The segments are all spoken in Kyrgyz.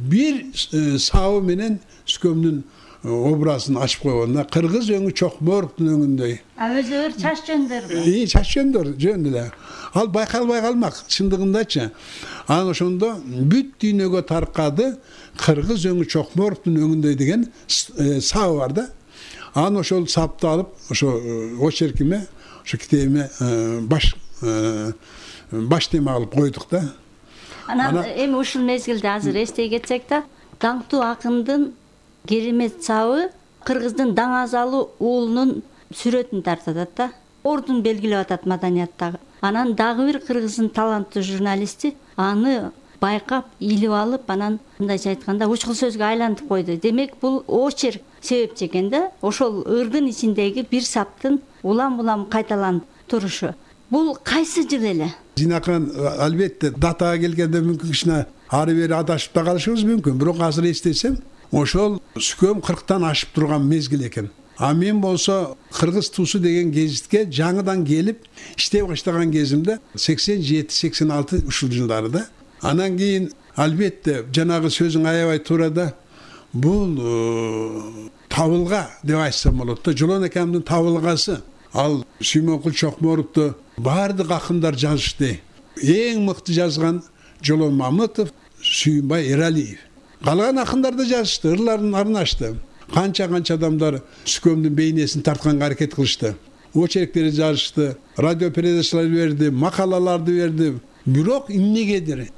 бир сабы менен Сүкөмдүн образын ачып койгонда кыргыз өңү Чокморовдун өңүндөй. Өзү чач жөндөр. Чач жөндөр эле. Ал байкалбай калмак чындыгындачы. Анан ошондо бүт дүйнөгө таркады кыргыз өңү Чокморовдун өңүндөй деген сабы бар да. Анан ошол сапты алып, ошо очеркиме, ошо китебиме баш тема кылып койдук да. Анан эми ушул мезгилде азыр эстей кетсек да, даңктуу акындын керемет сабы кыргыздын Даңазалы уулунун сүрөтүн тартатат да. Ордун белгилеп атат маданияттагы. Анан дагы бир кыргыздын таланттуу журналисти аны байкап, илип алып, анан мындайча айтканда учкул сөзгө айлантып койду. Демек, бул очерк себепчи экен да. Ошол ырдын ичиндеги бир саптын улам-улам кайталанып турушу. Бул кайсы жыл эле? Жинакан албетте датага келгенде мүмкүн кичине ары бери адашып да калышыбыз мүмкүн. Бирок азыр эстесем, ошол Сүкөм 40тан ашып турган мезгил экен. А мен болсо Кыргыз туусу деген гезитке жаңыдан келип иштей баштаган кезимде 87-86 ушул жылдарда. Анан кийин албетте жанагы сөзүң аябай туура да. Бул табылга деп айтсам болот да. Жолон экемдин табылгасы. Ал Сүймөнкул Чокморовду бардык акындар жазышты. Эң мыкты жазган Жолон Мамытов, Сүйүнбай Эралиев. Калган акындар да жазышты, ырларын арнашты. Канча адамдар Сүкөмдүн бейнесин тартканга аракет кылышты. Очерктерди жазышты, радио передачалар берди, макалаларды берди. Бирок эмнегедир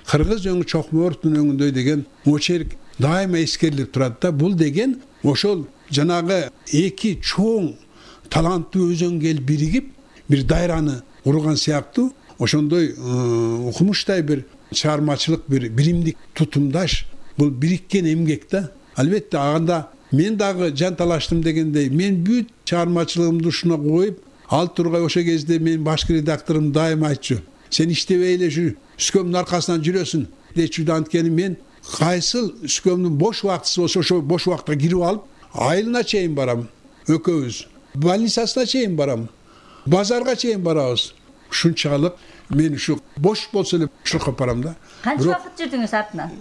Кыргыз өңү Чокморовдун өңүндөй деген очерк дайыма эскерилип турат да. Бул деген ошол жанагы эки чоң таланттуу өзөң келип биригип, бир дайраны курган сыяктуу, ошондой укмуштай бир чыгармачылык, бир биримдик тутумдаш, бул бириккен эмгек да. Албетте анда мен дагы жан талаштым дегендей, мен бүт чыгармачылыгымды ушуна коюп, ал тургай ошо кезде менин башкы редакторум дайыма айтчу. Сен иштебей эле жүр, Сүкөмдүн аркасынан жүрөсүн дечү да. Анткени мен кайсыл Сүкөмдүн бош убактысы болсо ошо бош убакытка кирип алып, айылына чейин барам, экөөбүз. Больницасына чейин барам, базарга чейин барабыз. Ушунчалык мен ушу бош болсо эле ушуга барам да. Канча убакыт жүрдүңүз артынан?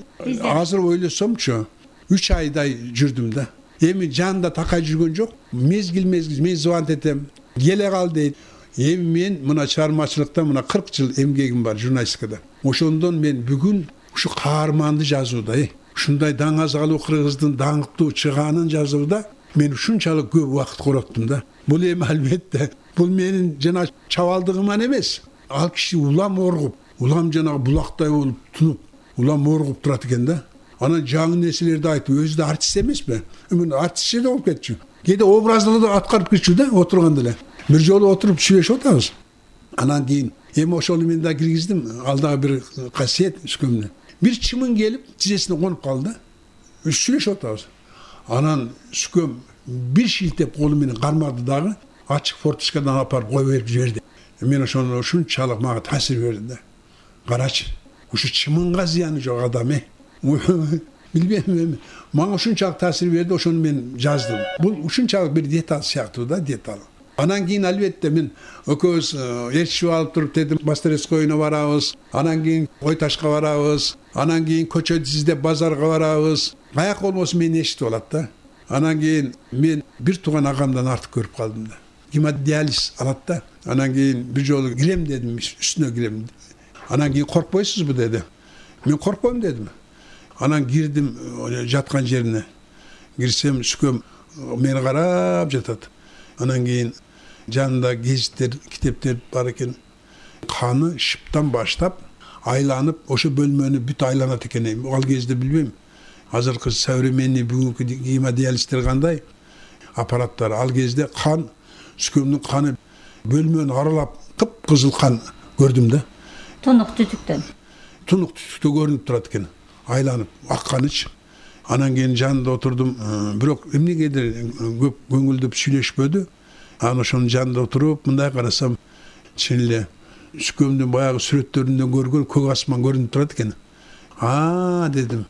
Азыр ойлосомчу 3 айдай жүрдүм да. Эми жанында такай жүргөн жок. Мезгил мен звонт этем. Келе кал дейт. Эми мен мына чыгармачылыкта мына 40 жыл эмгегим бар журналистикада. Ошондон мен бүгүн ушу каарманды жазууда, ушундай Даңазалы кыргыздын даңктуу чыгаанын жазууда мен ушунчалык көп убакыт короттум да. Бул эми албетте бул менин жана чабалдыгыман эмес. Ал киши улам оргуп, улам жанагы булактай болуп тунуп, улам оргуп турат экен да. Анан жаңы нерселерди айтып, өзү да артист эмеспи? Мен артистче да болуп кетчү. Кээде образдарды аткарып кетчү да, отурганда эле. Бир жолу отуруп сүйлөшүп атабыз. Анан кийин эми ошону мен да киргиздим. Ал дагы бир касиет Сүкөмдүн. Бир чымын келип, тизесине конуп калды. Сүйлөшүп атабыз. Анан Сүкөм бир шилтеп колу менен кармады дагы, ачык форточкадан алып барып кое берип жиберди. Мен ошону ушунчалык мага таасир берди да. Карачы, ушу чымынга зыяны жок адам билбейм эми. Мага ушунчалык таасир берди, ошону мен жаздым. Бул ушунчалык бир деталь сыяктуу да, деталь. Анан кийин албетте мен экөөбүз ээрчишип алып туруп дедим, Мастерскойуна барабыз. Анан кийин Ой Ташка барабыз. Анан кийин көчөдү издеп базарга барабыз. Каяк болбосун мени эшитип алат да. Анан кийин мен бир тууган агамдан артык көрүп калдым да. Гемодиализ алат да. Анан кийин бир жолу кирем дедим, үстүнө кирем. Анан кийин коркпойсузбу деди. Мен коркпойм дедим. Анан кирдим жаткан жерине. Кирсем Сүкөм мени карап жатат. Анан кийин жанында гезиттер, китептер бар экен. Каны шыптан баштап айланып, ошо бөлмөнү бүт айланат экен. Ал кезде билбейм. Азыркы современный бүгүнкү гемодиализдер кандай аппараттар. Ал кезде кан, Сүкөмдүн каны бөлмөнү аралап кып-кызыл кан көрдүм да. Тунук түтүктөн көрүнүп турат экен. Айланып, акканычы. Анан кийин жанында отурдум. Бирок эмнегедир көп көңүлдөп сүйлөшпөдү. Анан ошонун жанында отуруп, мындай карасам, чын эле Сүкөмдүн баягы сүрөттөрүндөн көргөн көк асман көрүнүп турат экен. Дедим.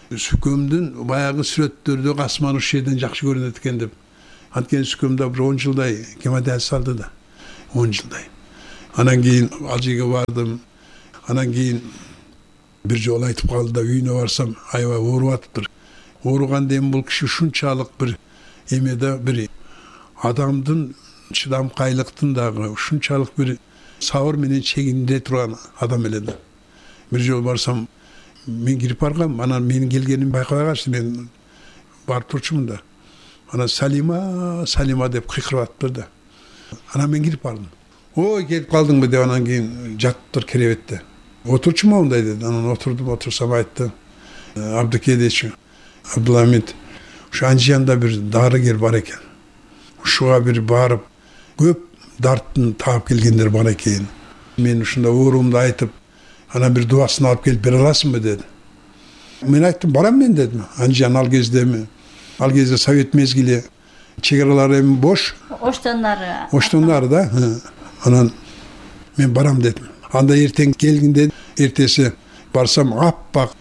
Сүкөмдүн баягы сүрөттөрдөгү асман ушул жерден жакшы көрүнөт экен деп. Анткени Сүкөмдө бир 10 жылдай гемодиализ алды да. 10 жылдай. Анан кийин ал жерге бардым. Анан кийин бир жолу айтып калды да, үйүнө барсам аябай ооруп атыптыр. Ооруганда эми бул киши ушунчалык бир эмеде бир адамдын чыдамкайлыктын дагы ушунчалык бир сабыр менен чегинде турган адам эле да. Бир жолу барсам, мен кирип баргам, анан менин келгенимди байкабай калышты. Мен барып турчумун да. Анан Салима деп кыйкырып атыптыр да. Анан мен кирип бардым. Ой, келип калдыңбы деп, анан кийин жатыптыр керебетте. Отурчумун мындай деди. Анан отурсам айтты. Абдыкедич, Абдуламид, ушу Анжиянда бир дарыгер бар экен. Ушуга бир барып, көп дарттын таап келгендер бар экен. Мен ушунда ооруумду айтып, анан бир дубасын алып келип бере аласыңбы деди. Мен айттым, барам мен дедим. Анжиян ал кезде совет мезгили, чек аралар эми бош. Оштоннары да. Анан мен барам дедим. Анда эртең келгенде, эртеси барсам, аппак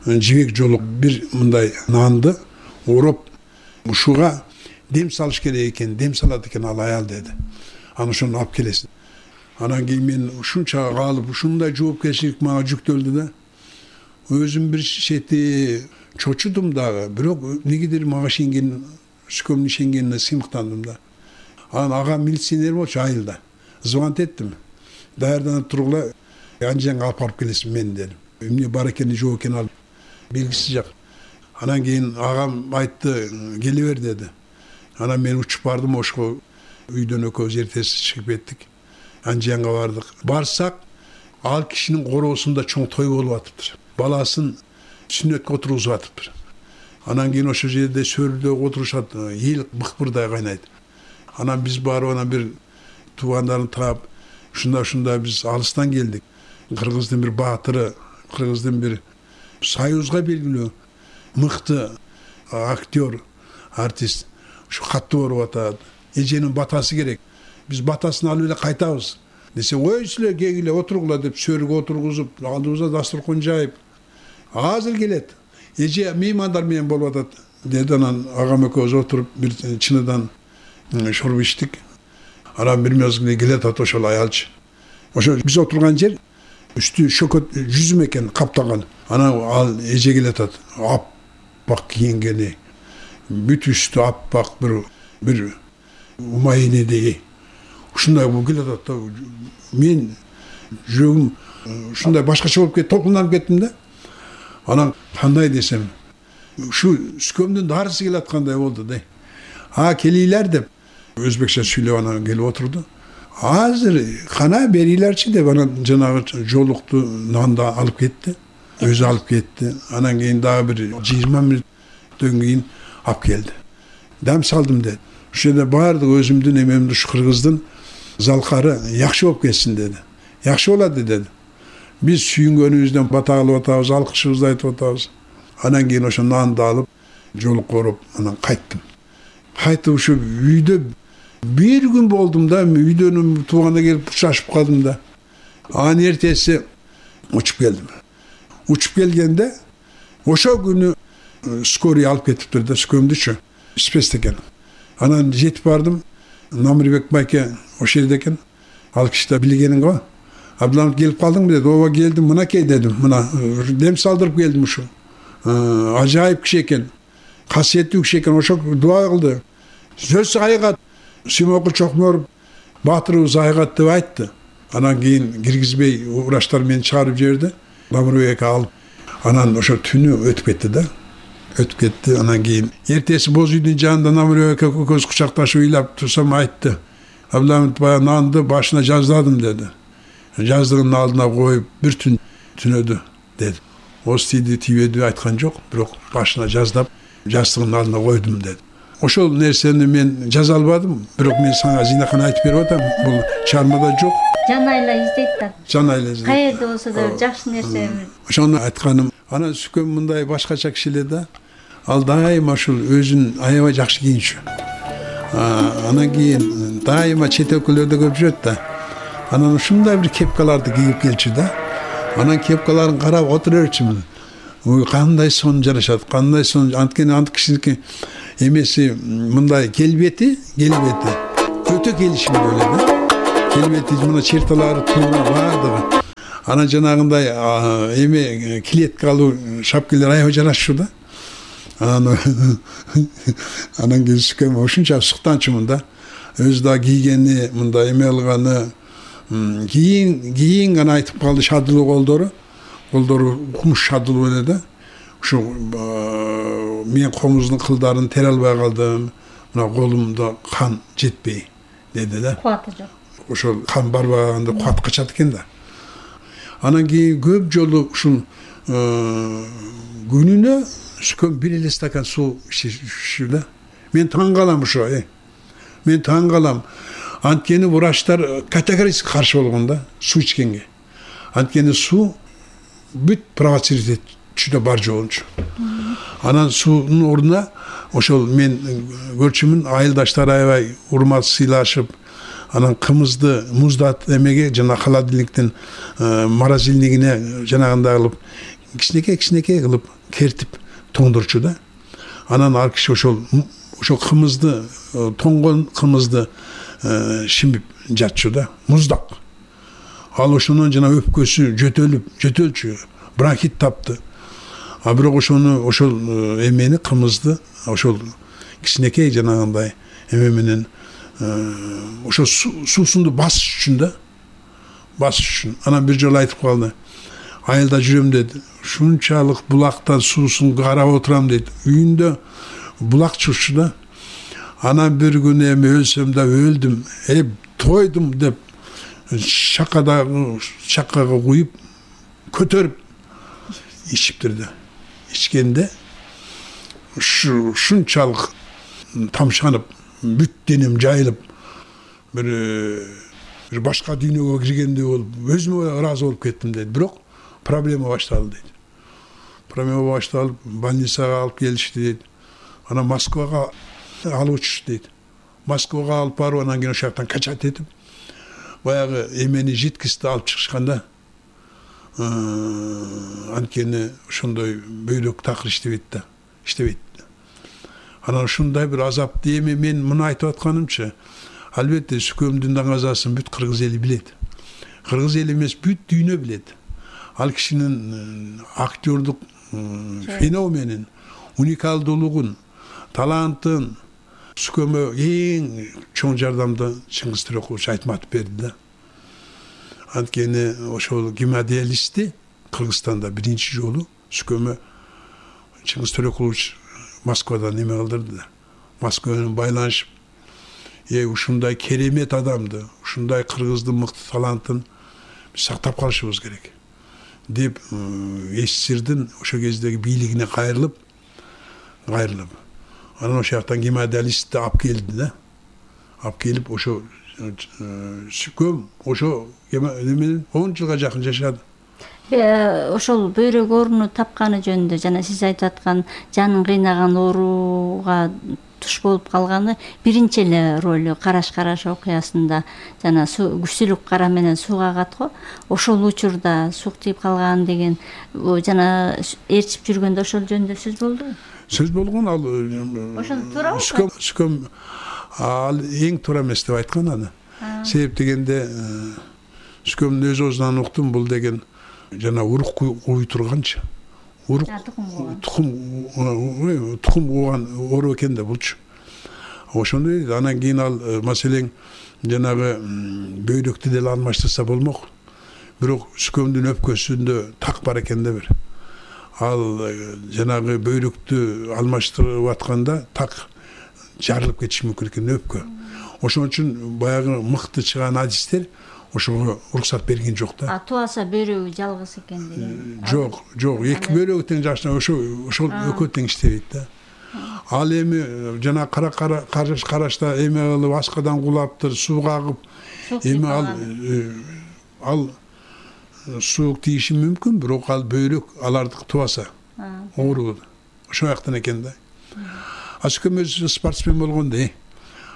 жибек жолук бир мындай нанды ороп, ушуга дем салыш керек экен, дем салат экен ал аял деди. Аны ошону алып келесиң. Анан кийин мен ушунча калып, ушундай жоопкерчилик мага жүктөлдү да. Өзүм бир чети чочудум дагы, бирок негедир мага ишенген, сүкөмдүн ишенгенине сыймыктандым да. Анан ага милиционер болчу айылда. Звонт эттим. Даярданып тургула, Анжиянга алып барып келесиң мен дедим. Эмне бар экени жок экени ал белгисиз жак. Анан кийин агам айтты, келе бер деди. Анан мен учуп бардым, ошко үйдөн экөөбүз эртеси чыгып кеттик. Анжиянга бардык. Барсак, ал кишинин короосунда чоң той болуп атыптыр. Баласын сүннөткө отургузуп атыптыр. Анан кийин ошол жерде сөрүдө отурушат, эл быкпырдай кайнайт. Анан биз барып, анан бир туугандарын таап, ушунда биз алыстан келдик. Кыргыздын бир баатыры, кыргыздын бир союзга белгилүү мыкты актер, артист ушу каттуу ооруп атат. Эженин батасы керек. Биз батасын алып эле кайтабыз. Десе, ой силер кегиле отургула деп сөргө отургузуп, алдыбызга дастуркан жайып. Азыр келет. Эже меймандар менен болуп атат деди. Анан агам экөөбүз отуруп бир чыныдан шоруп иштик. Анан бир мезгилде келет ат ошол аялчы. Ошо биз отурган жер үстү шөкөт жүзүм экен каптаган. Анан ал эже келет ат. Аппак кийингени. Бүт үстү аппак бир умайнедей. Ушундай болуп келет ат. Мен жүрөгүм ушундай башкача болуп кетти, толкунданып кеттим да. Анан кандай десем, ушу сүкөмдүн дарысы келе аткандай болду да. Келийлер деп өзбекче сүйлөп анан келип отурду. Азыр кана берилерчи деп анан жанагы жолукту нанды алып кетти. Өзү алып кетти. Анан кийин дагы бир 20 мүнөттөн кийин алып келди. Дам салдым деди. Ошол жерде баардык өзүмдүн эмемди ушу кыргыздын залкары жакшы болуп кетсин деди. Жакшы болот деди. Биз сүйүнгөнүбүздөн бата кылып атабыз, алкышыбызды айтып атабыз. Анан кийин ошо нанды алып, жолук коруп, анан кайттым. Кайтып ушу үйдө бир күн болдум да, үйдөн тууганда келип учашып калдым да. Анан эртеси учуп келдим. Учуп келгенде ошол күнү скорый алып кетиптир да, сүкөмдүчү. Спес экен. Анан жетип бардым. Намирбек байке ошол жерде экен. Ал киши да билгенин го. Абдуламид келип калдыңбы деди. Ооба келдим, мынакей дедим. Мына дем салдырып келдим ушу. Ажайып киши экен. Касиеттүү киши экен. Ошо дуа кылды. Сөз айгат. Симокул Чокморов баатырыбыз айгат деп айтты. Анан кийин киргизбей врачтар мени чыгарып жиберди. Намирбек алып. Анан ошо түнү өтүп кетти да. Өтүп кетти. Анан кийин эртеси боз үйдүн жанында Намирбек экөөбүз кучакташып ыйлап турсам айтты. Абдуламид баягы нанды башына жаздадым деди. Жаздыгынын алдына коюп бир түн түнөдү деди. Остиди тийбеди айткан жок, бирок башына жаздап жастыгынын алдына койдум деди. Ошол нерсени мен жаза албадым, бирок мен сага зинакан айтып берип атам. Бул чармада жок. Жан айла издейт да. Жан айла издейт. Каерде болсо да жакшы нерсе. Ошону айтканым. Анан сүкөм мындай башкача киши эле да. Ал дайыма ушул өзүн аябай жакшы кийинчү. Анан кийин дайыма чет өлкөлөрдө көп жүрөт да. Анан ушундай бир кепкаларды кийип келчү да. Анан кепкаларын карап отура берчүмүн. Ой, кандай сон жарашат, кандай сон, анткени ant кишиники эмеси мындай келбети өтө келишимдүү эле да. Келбети мына черталары туура бардыгы. Анан жанагындай эме клеткалуу шапкалар аябай жарашчу да. Анан кийин сүкөм ушунча суктанчумун да. Өзү да кийгени, мындай эме алганы, кийин гана айтып калды шадылуу колдору кумуш шадылуу эле да. Ушу мен комуздун кылдарын тере албай калдым. Мына колумда кан жетпей деди да. Кубаты жок. Ошол кан барбаганда кубат качат экен да. Анан кийин көп жолу ушул күнүнө сүкөм 1 эле стакан суу ичиши да. Мен таң калам ошо. Мен таң калам. Анткени врачтар категорически каршы болгон да суу ичкенге. Анткени суу бүт провоцировать этчү да бар жоончу. Анан суунун ордуна ошол мен көрчүмүн айылдаштар аябай урмат сыйлашып, анан кымызды муздат эмеге жана холодильниктин морозильнигине жанагындай кылып кичинекей кылып кертип тоңдурчу да. Анан ал киши ошол кымызды, тоңгон кымызды шимип жатчу да, муздак. Ал ошонун жана өпкөсү жөтөлчү, бронхит тапты. А бирок ошол эмени кымызды ошол кичинекей жанагындай эме менен ошол суусунду басыш үчүн да. Басыш үчүн. Анан бир жолу айтып калды. Айылда жүрөм деди. Шунчалык булактан суусун карап отурам деди. Үйүндө булак чурчу да. Анан бир күнү эми өлсөм да өлдүм, тойдум деп чаккага куюп көтөрүп ичиптир да. Ичкенде ушунчалык тамшанып, бүт денем жайылып, бир башка дүйнөгө киргендей болуп, өзүмө ыраазы болуп кеттим дейт. Бирок проблема башталды дейт. Проблема башталып, больницага алып келишти дейт. Анан Москвага алып учушту дейт. Москвага алып барып, анан кийин ошол жактан качат этип, баягы эмени жидкостьти алып чыгышканда, анткени ошондой бөйрөк такыр иштебейт. Анан ушундай бир азапты эми мен муну айтып атканымчы, албетте сүкөмдүн даңазасын бүт кыргыз эли билет. Кыргыз эли эмес, бүт дүйнө билет. Ал кишинин актёрдук феноменин, уникалдуулугун, талантын сүкөмө эң чоң жардамды Чыңгыз Төрекулович Айтматов берди да. Анткени ошол гемодиализди Кыргызстанда биринчи жолу сүкөмө Чыңгыз Төрекулович Москвадан эме кылдырды да. Москва менен байланышып, ушундай керемет адамды, ушундай кыргыздын мыкты талантын сактап калышыбыз керек деп СССРдин ошол кездеги бийлигине кайрылып, анан ошол жактан гемодиализди алып келди да. Алып келип ошо сүкөм ошо эменен 10 жылга жакын жашады. Ошол бөйрөк ооруну тапканы жөнүндө жана сиз айтып аткан жанын кыйнаган ооруга туш болуп калганы биринчи эле ролу Караш окуясында жана күчтүүлүк кара менен сууга агат го. Ошол учурда сук тийип калган деген жана ээрчип жүргөндө ошол жөнүндө сөз болдубу? Сөз болгон ал ошол туурабы? Сүкөм ал эң туура эмес деп айткан аны. Себеп дегенде сүкөмдүн өз оозунан уктум, бул деген жана урук кууй турганчы. Урук тукум кууган оору экен да булчу. Ошону дейт. Анан кийин ал маселең жанагы бөйрөктү деле алмаштырса болмок. Бирок сүкөмдүн өпкөсүндө так бар экен да бир. Ал жанагы бөйрөктү алмаштырып атканда так жарылып кетиши мүмкүн экен өпкө. Ошон үчүн баягы мыкты чыган адистер ошого уруксат берген жок да. Туаса бөйрөгү жалгыз экен деген. Жок, эки бөйрөгү тең жашына ошол экөө тең иштебейт да. Ал эми жана карашта эме кылып аскадан кулаптыр, сууга агып, эми ал суук тийиши мүмкүн, бирок ал бөйрөк алардыкы тубаса оору ошол жактан экен да. Сүкөм өзү спортсмен болгондо,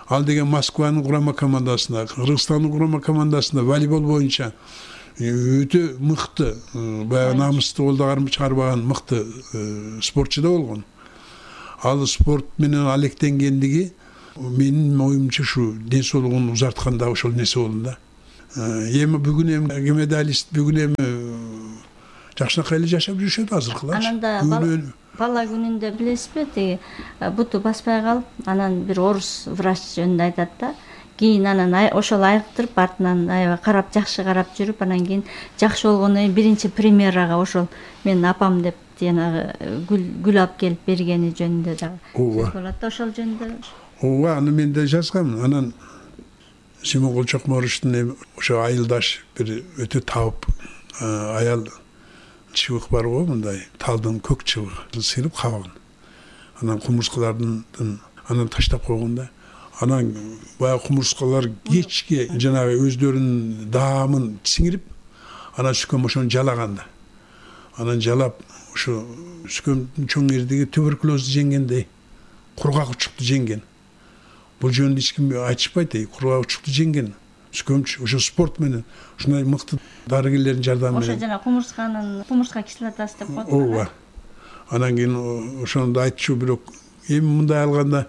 ал деген Москванын курама командасында, Кыргызстандын курама командасында волейбол боюнча өтө мыкты, баягы намыстуу колдо чыгарбаган мыкты спортчу да болгон. Ал спорт менен алектенгендиги менин оюмча ушу ден соолугун узартканда ошол нерсе болду да. Эми бүгүн эми медалист бүгүн эми жакшынакай эле жашап жүрүшөт азыркылар. Анан бала күнүндө билесизби, тиги буту баспай калып, анан бир орус врач жөнүндө айтат да. Кийин анан ошол айыктырып, артынан аябай карап, жакшы карап жүрүп, анан кийин жакшы болгондон кийин биринчи премьерага ошол менин апам деп жанагы гүл алып келип бергени жөнүндө дагы сөз болот да, ошол жөнүндө. Ооба, аны мен да жазгам. Анан Симон Чокморовичтин ошо айылдаш бир өтө табып аял чыбык бар го, мындай талдын көк чыбыгы сыйрып кабагын. Анан кумурскалардын анан таштап койгон да. Анан баягы кумурскалар кечке жанагы өздөрүнүн даамын сиңирип, анан Сүкөм ошону жалаган да. Анан жалап, ошо Сүкөмдүн чоң эрдиги туберкулезду жеңгендей, кургак учукту жеңген. Бул жөнүндө эч ким айтышпайт, кургак учукту жеңген. Сүкөмчү ошо спорт менен ушундай мыкты дарыгерлердин жардамы менен. Ошо жана кумурска кислотасы деп коет. Ооба. Анан кийин ошону айтчу, бирок эми мындай алганда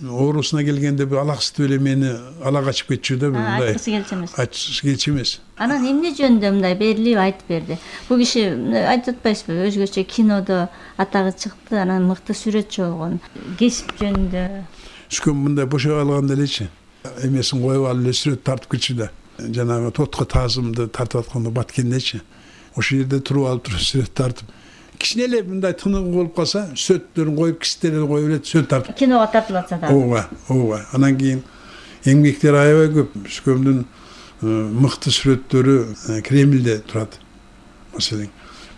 оорусуна келгенде бир алаксытып эле мени ала качып кетчү да, мындай. Айтчысы келчү эмес. Айтчысы келчү эмес. Анан эмне жөнүндө мындай берилип айтып берди? Бул киши айтып атпайсызбы, өзгөчө кинодо атагы чыкты, анан мыкты сүрөтчү болгон. Кесип жөнүндө. Сүкөм мындай бошоп алганда элечи эмесин коюп алып эле сүрөт тартып кетчү да. Жанагы тотко таазымды тартып атканда баткендечи. Ошол жерде туруп алып сүрөт тартып. Кичине эле мындай тыныгы болуп калса, сүрөттөрүн коюп, кистерин коюп эле сүрөт тартып. Киного тартылып атса да. Ооба. Анан кийин эмгектер аябай көп. Сүкөмдүн мыкты сүрөттөрү Кремльде турат. Маселен,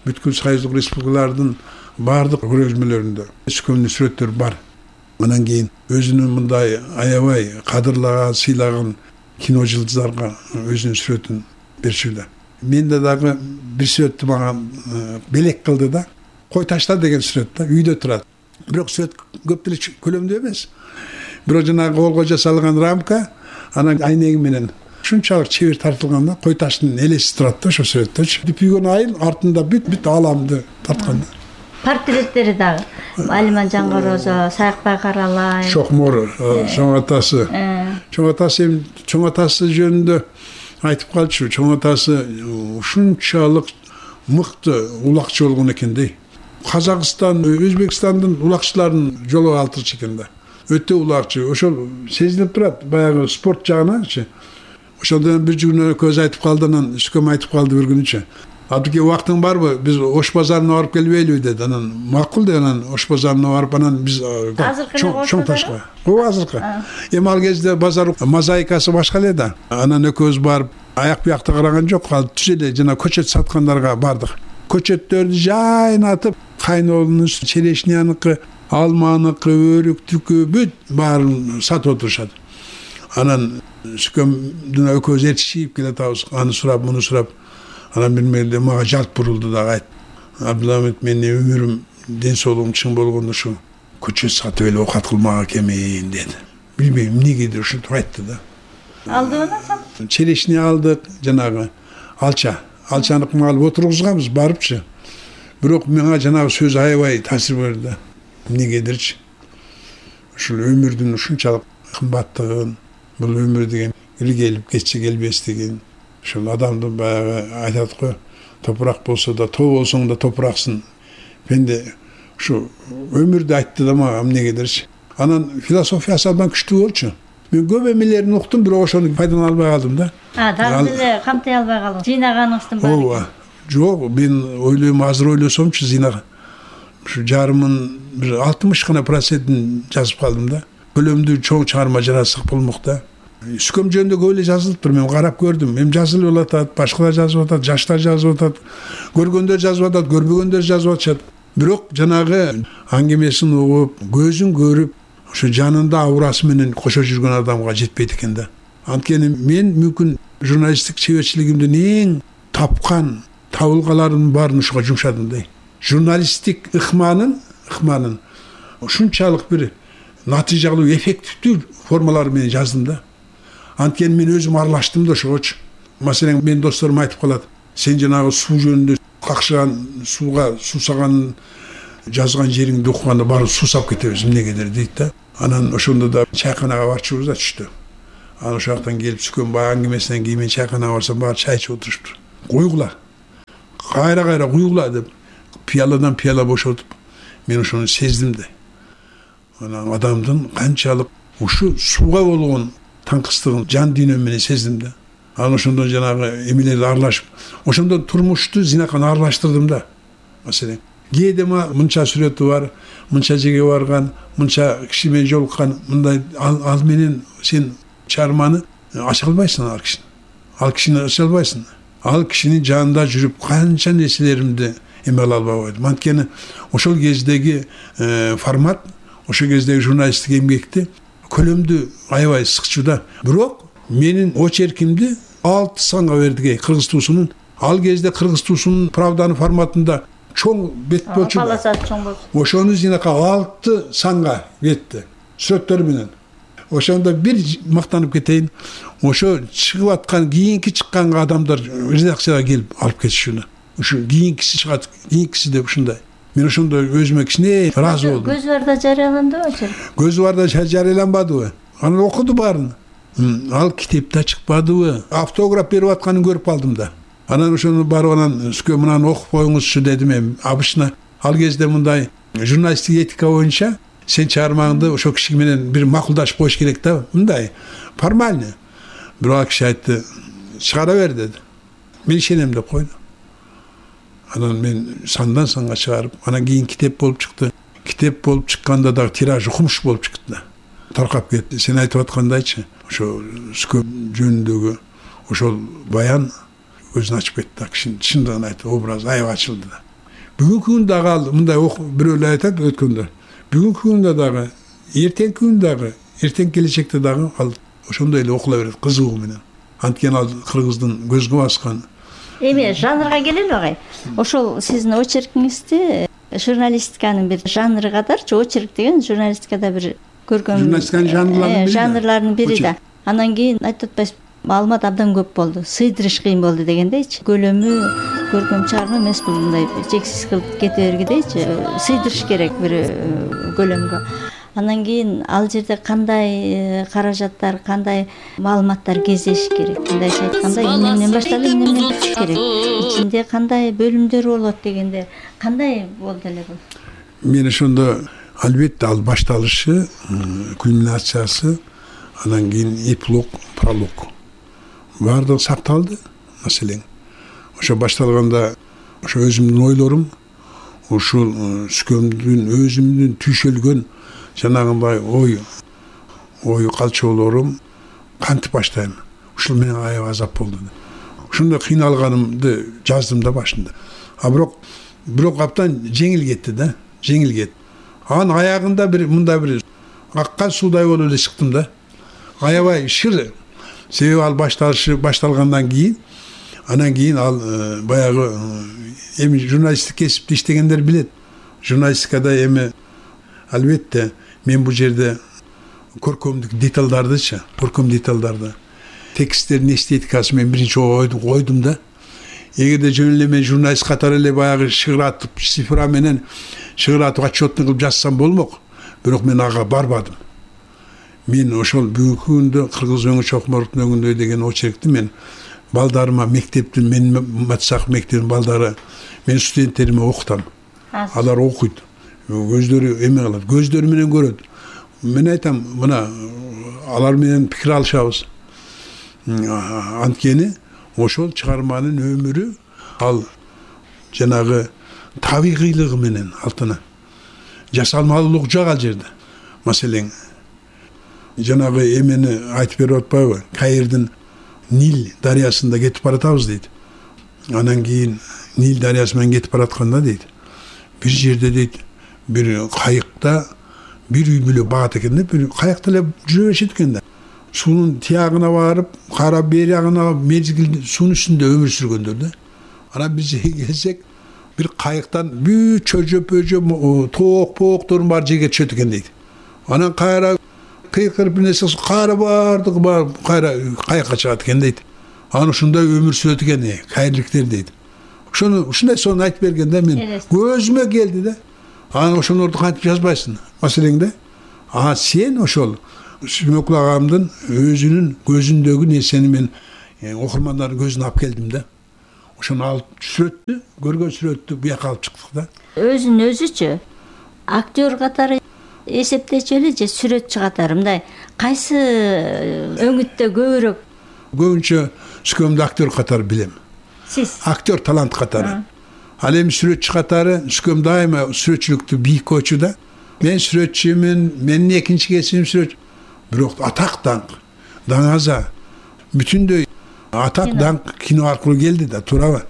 бүткүл Союздук республикалардын баардык көргөзмөлөрүндө Сүкөмдүн сүрөттөрү бар. Анан кийин өзүнүн мындай аябай кадырлаган, сыйлаган кино жылдыздарга өзүнүн сүрөтүн берчү да. Менде дагы бир сүрөттү мага белек кылды да. Кой ташта деген сүрөт да, үйдө турат. Бирок сүрөт көп деле көлөмдүү эмес. Бирок жанагы колго жасалган рамка, анан айнеги менен ушунчалык чебер тартылган да, кой таштын элеси турат да ошо сүрөттөчү. Дүпүйгөн айыл артында бүт ааламды тарткан да. Портреттери дагы Алиман Жангорозо, Саякбай Каралай, Шокмор, чоң атасы. Чоң атасы жөнүндө айтып калчу. Чоң атасы ушунчалык мыкты улакчы болгон экен дей. Казакстан, Өзбекстандын улакчыларынын жолу алтырчу экен да. Өтө улакчы. Ошол сезилип турат баягы спорт жагыначы. Ошондон бир күнү көз айтып калды, анан Сүкөм айтып калды бир күнүчө. Абдыке убактың барбы? Биз Ош базарына барып келбейлиби деди. Анан макул деп анан Ош базарына барып, анан биз чоң ташка. Ооба, азыркы. Эми ал кезде базар мозаикасы башка эле да. Анан экөөбүз барып, аяк буякта караган жок, ал түз эле жана көчөт саткандарга бардык. Көчөттөрдү жайнатып, кайнолунун черешняныкы, алманыкы, өрүктүкү бүт баарын сатып отурушат. Анан Сүкөмдүн экөөбүз эртишип келатабыз, аны сурап, муну сурап. Анан бир мезгилде мага жалт бурулду дагы айтты. Абдуламит, менин өмүрүм, ден соолугум чың болгондо ушу көчөт сатып эле оокат кылмак экенмин деди. Билбейм эмнегедир ушинтип айтты да. Алдыбы да? Черешне алдык, жанагы алчаны алып отургузганбыз барыпчы. Бирок мага жанагы сөз аябай таасир берди да. Эмнегедирчи. Ушул өмүрдүн ушунчалык кымбаттыгын, бул өмүр деген келип кетсе келбестигин, ушул адамды баягы айтат го, топурак болсо да, тоо болсоң да топураксың. Менде ушу өмүрдү айтты да мага эмнегедирчи. Анан философиясы абдан күчтүү болчу. Мен көп эмелерин уктум, бирок ошону пайдалана албай калдым да. Дагы деле камтай албай калдым. Жыйнаганыңыздын баары. Ооба. Жок, мен ойлойм, азыр ойлосомчу зыйнаган. Ушу жарымын бир 60% жазып калдым да. Көлөмдүү чоң чыгарма жаратсак болмок да. Сүкөм жөнүндө көп эле жазылыптыр, мен карап көрдүм. Эми жазылып атат, башкалар жазып атат, жаштар жазып атат, көргөндөр жазып атат, көрбөгөндөр жазып атышат. Бирок жанагы аңгемесин угуп, көзүн көрүп, ошо жанында аурасы менен кошо жүргөн адамга жетпейт экен да. Анткени мен мүмкүн журналисттик чеберчилигимдин эң тапкан табылгаларымдын баарын ушуга жумшадым да. Журналисттик ыкманын ушунчалык бир натыйжалуу, эффективдүү формалары менен жаздым да. Анткени мен өзүм аралаштым да ошогочу. Маселен, мен досторум айтып калат, сен жанагы суу жөнүндө какшыган, сууга суусаган жазган жериңди окуганда барып суусап кетебиз, эмнегедир дейт да. Анан ошондо да чайканага барчубуз да түштө. Аны ошол жактан келип сүкөн баягы әңгимесинен кийин мен чайканага барсам баары чай ичип отурушту. Куйгула. Кайра куйгула деп пияладан пияла бошотуп мен ошону сездим да. Анан адамдын канчалык ушу сууга болгон таңкыстыгын жан дүйнөм менен сездим да. Анан ошондон жанагы эмелерди аралашып, ошондон турмушту зинаканы аралаштырдым да. Маселен, кээде мынча сүрөтү бар, мынча жерге барган, мынча киши менен жолуккан, мындай ал менен сен чыгарманы ача албайсың ал кишини ача албайсың. Ал кишинин жанында жүрүп канча нерселеримди эме кыла албай койдум. Анткени ошол кездеги формат, ошол кездеги журналисттик эмгекти көлөмдү аябай сыкчу да. Бирок менин очеркимди 6 санга бердик Кыргыз туусунун. Ал кезде Кыргыз туусунун Правданын форматында чоң бет болчу. Полосаты чоң болчу. Ошону зинака 6 санга берди. Сүрөттөр менен. Ошондо бир мактанып кетейин. Ошо чыгып аткан кийинки чыккан адамдар редакцияга келип алып кетишүнү. Ушу кийинкиси чыгат, кийинкиси деп ушундай. Мен ошондо өзүмө кичине ыраазы болдум. Көз барда жарыяландыбы очерк? Көз барда жарыяланбадыбы? Аны окуду баарын. Ал китепте чыкпадыбы? Автограф берип атканын көрүп калдым да. Анан ошону барып анан сүкө мынаны окуп коюңузчу дедим эми. Обычно ал кезде мындай журналисттик этика боюнча сен чыгармаңды ошол киши менен бир макулдашып коюш керек да. Мындай формально. Бирок киши айтты, чыгара бер деди. Мен ишенем деп койду. Анан мен сандан санга чыгарып, анан кийин китеп болуп чыкты. Китеп болуп чыкканда дагы тиражы кумуш болуп чыкты да. Таркап кетти. Сен айтып аткандайчы, ошо сүкө жөнүндөгү ошол баян өзүн ачып кетти да. Кишинин чындыгын айтты, образ аябай ачылды да. Бүгүнкү күндө дагы ал мындай бирөөлөр айтат өткөндө. Бүгүнкү күндө дагы, эртеңки күндө дагы, эртең келечекте дагы ал ошондой эле окула берет кызыгуу менен. Анткени ал кыргыздын көзгө баскан. Эми жанрга келели агай. Ошол сиздин очеркиңизди журналистиканын бир жанры катарчы, очерк деген журналистикада бир көркөм журналистиканын жанрларынын бири да. Анан кийин айтып атпайсызбы, маалымат абдан көп болду, сыйдырыш кыйын болду дегендейчи. Көлөмү көркөм чыгарма эмес, бул мындай чексиз кылып кете бергидейчи, сыйдырыш керек бир көлөмгө. Анан кийин ал жерде кандай каражаттар, кандай маалыматтар кездеш керек. Мындайча айтканда, эмнеден башталып, эмнеден бүтүш керек. Ичинде кандай бөлүмдөр болот дегенде, кандай болду эле бул? Мен ошондо албетте ал башталышы, кульминациясы, анан кийин эпилог, пролог. Баардыгы сакталды, маселен. Ошо башталганда ошо өзүмдүн ойлорум, ушул сүкөмдүн өзүмдүн түйшөлгөн жанагындай ой калчоолорум кантип баштайм. Ушул менен аябай азап болду. Ошондо кыйналганымды жаздым да башында. Бирок абдан жеңил кетти да, жеңил кетти. Анын аягында мындай бир аккан суудай болуп эле чыктым да. Аябай шыр. Себеби ал башталгандан кийин, анан кийин ал баягы эми журналисттик кесипте иштегендер билет. Журналистикада эми албетте мен бул жерде көркөмдүк деталдардычы, көркөм деталдарды, тексттердин эстетикасын мен биринчи койдум да. Эгерде жөн эле мен журналист катары эле баягы шыгыратып, цифра менен шыгыратып отчетный кылып жазсам болмок. Бирок мен ага барбадым. Мен ошол бүгүнкү күндө Кыргыз өңү чокмордун өңүндөй деген очеркти мен балдарыма мектептин, мен Матсак мектебинин балдары, мен студенттериме окутам. Алар окуйт. Көздөрү эме кылат, көздөрү менен көрөт. Мен айтам, мына алар менен пикир алышабыз. Анткени ошол чыгарманын өмүрү ал жанагы табигыйлыгы менен алтына. Жасалмалуулук жок ал жерде. Маселен, жанагы эмени айтып берип атпайбы? Каирдин Нил дарыясында кетип баратабыз дейт. Анан кийин Нил дарыясы менен кетип баратканда дейт, бир жерде дейт, бир кайыкта бир үй бүлө багат экен да, бир каякта эле жүрө беришет экен да. Суунун тиягына барып, кара бери ягына мезгил суунун үстүндө өмүр сүргөндөр да. Анан биз келсек, бир кайыктан бүт чөжөп, тоок-поокторун бар жерге түшөт экен дейт. Анан кайра кыйкырып бир нерсе кайра бардыгы бар, кайра каякка чыгат экен дейт. Анан ушундай өмүр сүрөт экен кайырликтер дейт. Ушундай сонун айтып берген да, мен көзүмө келди да. Анан ошолорду кантип жазбайсың? Маселең да. Сен ошол Сүмөкул агамдын өзүнүн көзүндөгү нерсени мен окурмандардын көзүнө алып келдим да. Ошону алып сүрөттү, көргөн сүрөттү буяка алып чыктык да. Өзүн өзүчү актер катары эсептечү эле же сүрөтчү катары мындай кайсы өңүттө көбүрөөк? Көбүнчө Сүкөмдү актер катары билем. Сиз Актер талант катары. Ал эми сүрөтчү катары Сүкөм дайыма сүрөтчүлүктү бийик койчу да. Мен сүрөтчүмүн, менин экинчи кесибим сүрөтчү. Бирок атак даңк, даңаза бүтүндөй атак даңк кино аркылуу келди да, туурабы?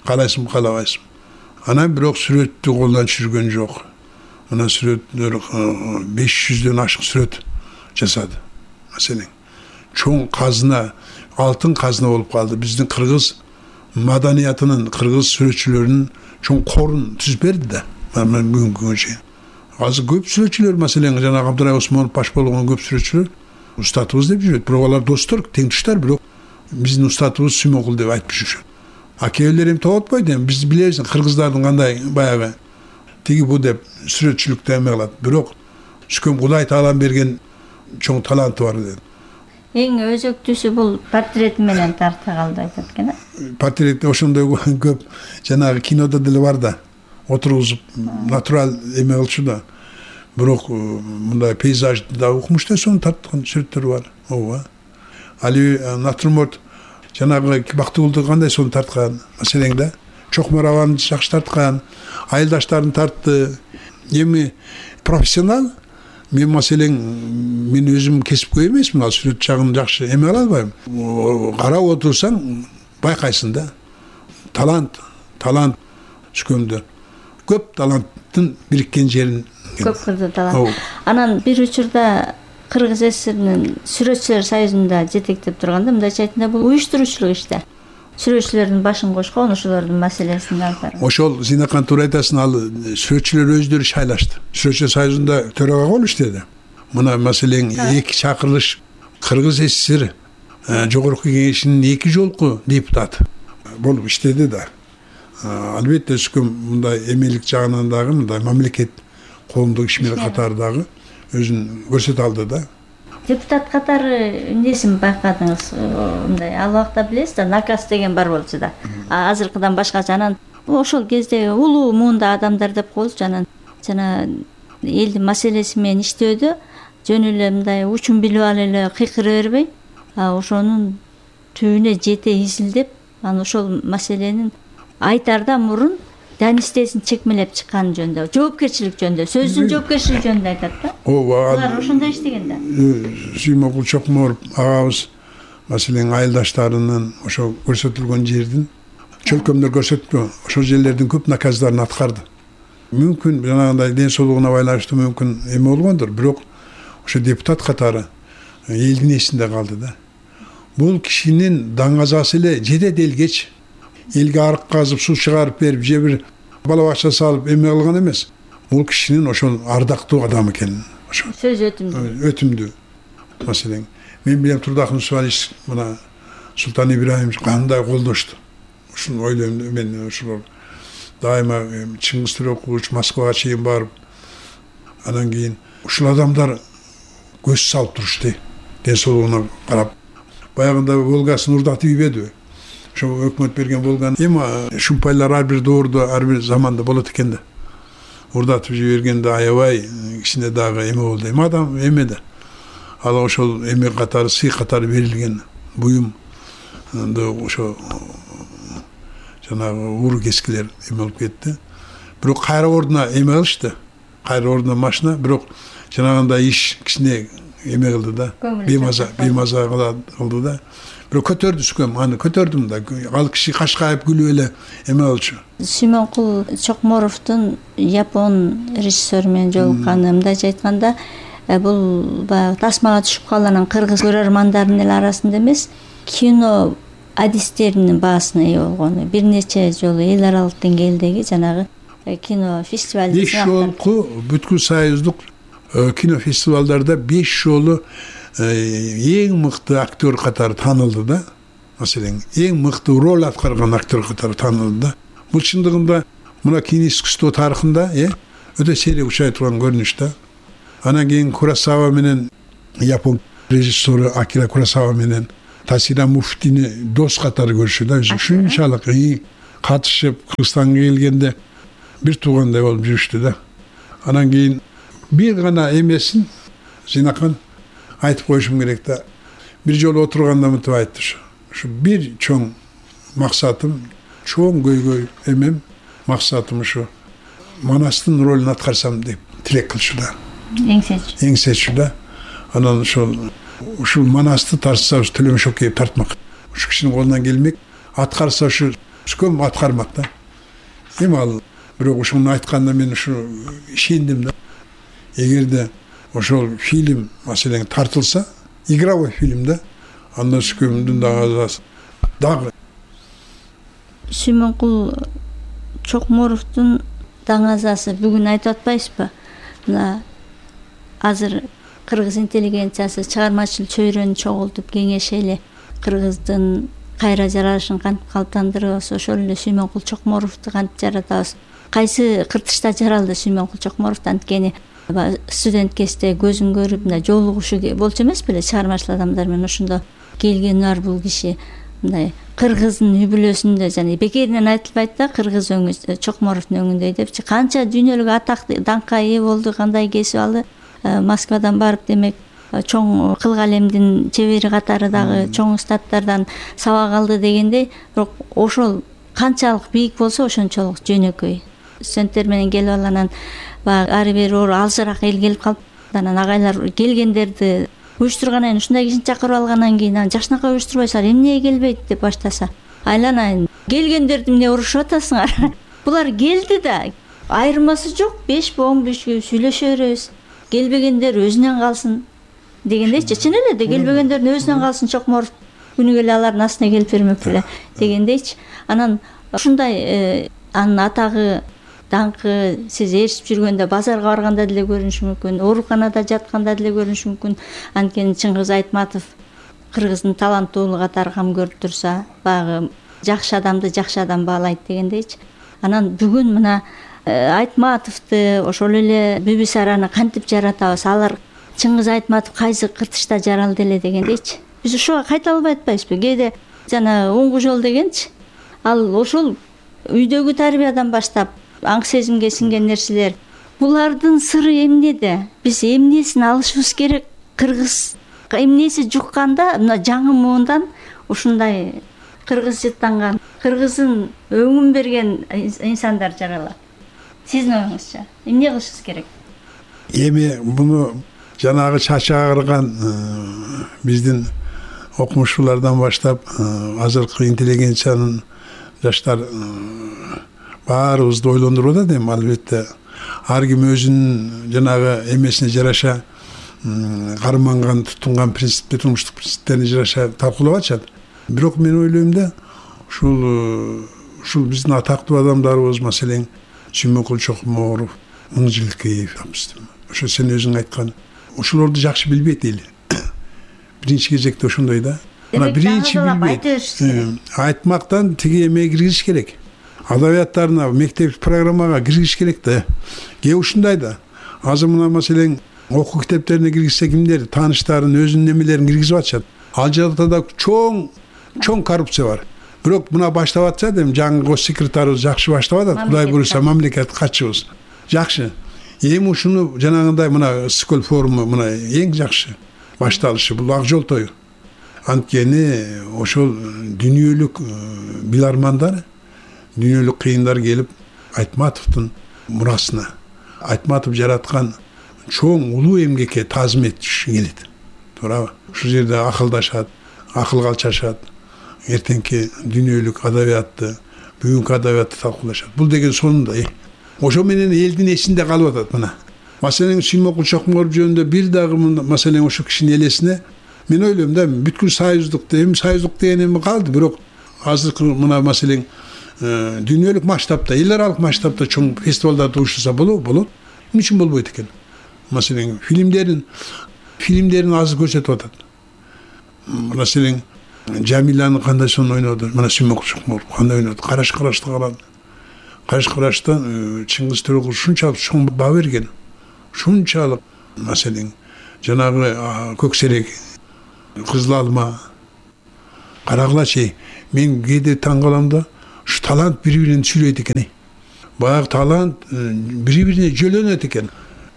Каалайсыңбы, каалабайсыңбы? Анан бирок сүрөттү колдон түшүргөн жок. Мына сүрөттөр 500дөн ашык сүрөт жасады. Маселен, чоң казына, алтын казына болуп калды. Биздин кыргыз маданиятынын, кыргыз сүрөтчүлөрүнүн чоң корун түзүп берди да. Мен бүгүнкү күнгө чейин. Азыр көп сүрөтчүлөр, маселен, жана Абдырай Осмонов баш болгон көп сүрөтчүлөр устатыбыз деп жүрөт. Бирок алар достор, теңдештер, бирок биздин устатыбыз Сүмөкул деп айтып жүрүшөт. Кээбилер эми тоботпойт, эми биз билебиз кыргыздардын кандай баягы тиги бу деп сүрөтчүлүктө эме кылат. Бирок Сүкөм Кудай таалам берген чоң таланты бар деп. Эң өзөктүүсү бул портрет менен тарта калды айтат экен. Портрет ошондой көп жанагы кинодо деле бар да. Отургузуп натурал эме кылчу да. Бирок мындай пейзажды да укмуш да сону тарткан сүрөттөр бар. Ооба. Али натюрморт жанагы Бактыгулду кандай сону тарткан, маселең да. Чокмораваны жакшы тарткан, айылдаштарын тартты. Эми профессионал мен маселең мен өзүм кесипкөй эмесмин, ал сүрөт жагын жакшы эме ала албайм. Карап отурсаң байкайсың да. Талант Сүкөмдө. Көп таланттын бириккен жерин. Көп кырды талант. Анан бир учурда Кыргыз ССРнин сүрөтчүлөр союзунда жетектеп турганда мындайча айтканда бул уюштуруучулук иште. Сүрөтчүлөрдүн башын кошкон, ошолордун маселесин алып. Ошол Зинакан туура айтасың, ал сүрөтчүлөр өздөрү шайлашты. Сүрөтчүлөр союзунда төрага болуп иштеди. Мына маселең эки чакырылыш Кыргыз ССР жогорку кеңешинин 2 жолку депутаты болуп иштеди да. Албетте Сүкөм мындай эмелик жагынан дагы мындай мамлекет коомдук ишмер катары дагы өзүн көрсөтө алды да. Депутат катары эмнесин байкадыңыз? Мындай ал убакта билесиз да, наказ деген бар болчу да. Азыркыдан башкача. Анан ошол кезде улуу муунда адамдар деп коелучу, анан жана элдин маселеси менен иштөөдө жөн эле мындай учун билип алып эле кыйкыра бербей, ошонун түбүнө жете изилдеп, анан ошол маселенин айтардан мурун данистесин чекмелеп чыккан жөнүндө, жоопкерчилик жөнүндө, сөздүн жоопкерчилиги жөнүндө айтат да. Ооба. Алар ошондой иштеген да. Сүмөкул Чокморов агабыз маселен айылдаштарынын ошо көрсөтүлгөн жердин чөлкөмдөр көрсөттү. Ошол жерлердин көп наказдарын аткарды. Мүмкүн жанагындай ден соолугуна байланыштуу мүмкүн эме болгондур, бирок ошо депутат катары элдин эсинде калды да. Бул кишинин даңазасы эле жеде делгеч. Элге арык казып, суу чыгарып берип, же бир бала бакча салып эме кылган эмес. Бул кишинин ошол ардактуу адам экенин. Ошо сөз өтүмдүү. Маселен, мен билем Турдакын Усманович мына Султан Ибраимович кандай колдошту. Ушуну ойлойм мен, ошолор дайыма Чыңгыз Төрекулович Москвага чейин барып, анан кийин ушул адамдар көз салып турушты. Ден соолугуна карап. Баягында Волгасын урдатып ийбедиби? Ошо өкмөт берген болгон эми шумпайлар ар бир доордо, ар бир заманда болот экен да. Урдатып жибергенде аябай кичине дагы эме болду. Эми адам эме да. Ал ошол эме катары, сый катары берилген буюм ошо жанагы уру кескилер эме болуп кетти. Бирок кайра ордуна эме кылышты. Кайра ордуна машина, бирок жанагындай иш кичине эме кылды да. Беймаза кылды да. Бирок көтөрдү Сүкөм, аны көтөрдүм да. Ал киши кашкайып күлүп эле эме болчу. Сүмөкул Чокморовдун Япон режиссеру менен жолукканы, мындайча айтканда, бул баягы тасмага түшүп калган кыргыз көрөрмандардын эле арасында эмес, кино адистеринин баасына ээ болгону. Бир нече жолу эл аралык деңгээлдеги жанагы кино фестивалдын 5 жолку бүткүл союздук кино фестивалдарда 5 жолу эң мыкты актер катары таанылды да. Маселен, эң мыкты роль аткарган актер катары таанылды да. Бул чындыгында мына кино искусство тарыхында өтө сейрек учай турган көрүнүш да. Анан кийин Курасава менен Япон режиссеру Акира Куросава менен Тасира Муфтини дос катары көрүшү да. Ушунчалык катышып Кыргызстанга келгенде бир туугандай болуп жүрүштү да. Анан кийин бир гана эмесин Зинакан айтып коюшум керек да. Бир жолу отурганда мынтип айтты ушу бир чоң максатым, чоң көйгөй эмем, максатым ушу Манастын ролун аткарсам деп тилек кылчу да. Эңсечү да. Анан ушул Манасты тартса Төлөмөшөкөев тартмак. Ушу кишинин колунан келмек, аткарса ушу көм аткармак да. Эми ал бирок ушуну айтканда мен ушу ишендим да. Эгерде ошол фильм маселен тартылса, игровой фильм да, анда Сүкөмдүн дагы Сүймөнкул Чокморовдун даңазасы бүгүн айтып атпайсызбы? Мына азыр кыргыз интеллигенциясы чыгармачыл чөйрөнү чогултуп кеңешели, кыргыздын кайра жаралышын кантип калыптандырабыз, ошол эле Сүймөнкул Чокморовду кантип жаратабыз? Кайсы кыртышта жаралды Сүймөнкул Чокморов? Анткени студент кезде көзүн көрүп мындай жолугушу болчу эмес беле чыгармачыл адамдар менен, ошондо келгени бар бул киши. Мындай кыргыздын үй бүлөсүндө жана бекеринен айтылбайт да, кыргыз өңү Чокморовдун өңүндөй депчи. Канча дүйнөлүк атак даңкка ээ болду, кандай кесип алды. Москвадан барып демек чоң кыл калемдин чебери катары дагы чоң устаттардан сабак алды дегендей, бирок ошол канчалык бийик болсо ошончолук жөнөкөй. Студенттер менен келип алганан баягы ары бери алжыраак эл келип калып, анан агайлар келгендерди уюштургандан кийин ушундай кишини чакырып алгандан кийин жашынакай уюштурбайсыңар, эмне келбейт деп баштаса, айланайын келгендерди эмне урушуп атасыңар? Булар келди да, айырмасы жок, 5-15 сүйлөшө беребиз. Келбегендер өзүнөн калсын дегендейчи. Чын эле да келбегендердин өзүнөн калсын, Чокморов күнү келе алардын астына келип бермек беле дегендейчи. Анан ушундай анын атагы, даңкы сиз ээрчип жүргөндө базарга барганда деле көрүнүшү мүмкүн, ооруканада жатканда деле көрүнүшү мүмкүн. Анткени Чыңгыз Айтматов кыргыздын таланттуулугу катары кам көрүп турса, баягы жакшы адамды жакшы адам баалайт дегендейчи. Анан бүгүн мына Айтматовду, ошол эле Бибисараны кантип жаратабыз? Алар Чыңгыз Айтматов кайсы кыртышта жаралды эле дегендейчи. Биз ошого кайта албай атпайбызбы? Кээде жана оңгу жол дегенчи. Ал ошол үйдөгү тарбиядан баштап аң сезимге сиңген нерселер. Булардын сыры эмнеде? Биз эмнесин алышыбыз керек? Кыргыз эмнеси жукканда мына жаңы муундан ушундай кыргыз жыттанган, кыргыздын өңүн берген инсандар жаралат. Сиздин оюңузча эмне кылышыбыз керек? Эми буну жанагы чачы агырган биздин окумуштуулардан баштап азыркы интеллигенциянын жаштар баарыбызды ойлондуруп атат. Эми албетте ар ким өзүнүн жанагы эмесине жараша карманган, тутунган принциптер, турмуштук принциптерине жараша талкуулап атышат. Бирок мен ойлойм да, ушул биздин атактуу адамдарыбыз, маселен Сүймөнкул Чокморов, Мыңжылкеев, ошо сен өзүң айткан, ошолорду жакшы билбейт эл. Биринчи кезекте ошондой да. Мына биринчи билбейт. Айтмактан тиги эме киргизиш керек. Адабияттарына, мектеп программага киргизиш керек да. Кээ ушундай да. Азыр мына маселен окуу китептерине киргизсе кимдер тааныштарын, өзүнүн немелерин киргизип атышат. Ал жакта чоң коррупция бар. Бирок мына баштап атса дем жаңы гос секретарыбыз жакшы баштап атат. Кудай буюрса мамлекет катчыбыз. Жакшы. Эми ушуну жанагындай мына Скол форуму мына эң жакшы башталышы, бул ак жол тою. Анткени ошол дүйнөлүк билармандар, дүйнөлүк кыйындар келип Айтматовдун мурасына, Айтматов жараткан чоң улуу эмгекке таазим этиши келет. Туурабы? Ушул жерде акылдашат, акыл калчашат. Эртеңки дүйнөлүк адабиятты, бүгүнкү адабиятты талкуулашат. Бул деген сонунда ошо менен элдин эсинде калып атат мына. Маселен Сүймөнкул Чокморов жөнүндө бир дагы маселен ошо кишинин элесине мен ойлойм да, бүткүл союздук деген эми калды, бирок азыркы мына маселен дүйнөлүк масштабта, эл аралык масштабта чоң фестивалдарды уюштурса болот. Эмне үчүн болбойт экен? Маселен фильмдерин азыр көрсөтүп атат. Маселен Жамиланы кандай сон ойноду, мына Сүймөнкул Чокморов кандай ойноду, карашты карады. Караштан Чыңгыз Төрөкулов ушунчалык чоң баа берген. Ушунчалык маселен жанагы көксерек, кызыл алма, карагылачы. Мен кээде таң калам да, ушу талант бири-бирин сүйлөйт экен. Баягы талант бири-бирине жөлөнөт экен.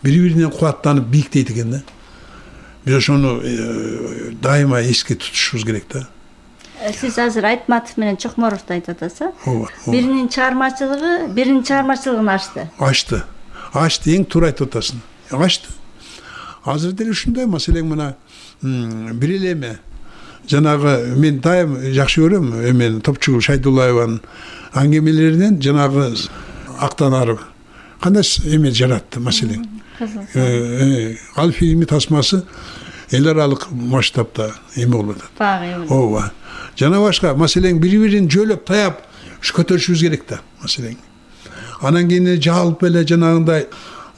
Бири-бирине кубаттанып бийиктейт экен да. Биз ошону дайыма эске тутушубуз керек да. Сиз азыр Айтматов менен Чокморовду айтып атасыз. Биринин чыгармачылыгын ачты. Ачты, эң туура айтып атасың. Ачты. Азыр деле ушундай маселең мына бир эле эме. Жанагы мен дайым жакшы көрөм эмен Топчугул Шайдуллаеванын аңгемелеринен жанагы актанары кандай эме жаратты маселең. Ал фильми тасмасы эл аралык масштабта эме болуп атат. Ооба. Жана башка маселең бири-бирин жөлөп таяп көтөрүшүбүз керек да маселең. Анан кийин жалпы эле жанагындай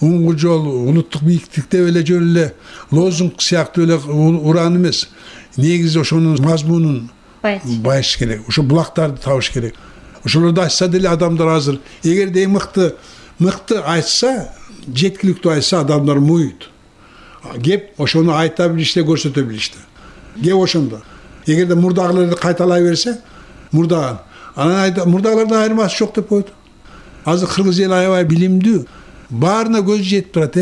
уңгу жол, улуттук бийиктикте эле жөн эле лозунг сыяктуу эле уран эмес. Негизи ошонун мазмунун байыш керек. Ошо булактарды табыш керек. Ошолорду айтса деле адамдар азыр эгерде мыкты айтса, жеткиликтүү айтса адамдар муйт. Кеп ошону айта билиште, көрсөтө билиште. Кеп ошондо. Эгерде мурдагыларды кайталай берсе, мурдагылардан айырмасы жок деп койду. Азыр кыргыз эли аябай билимдүү. Баарына көз жетип турат.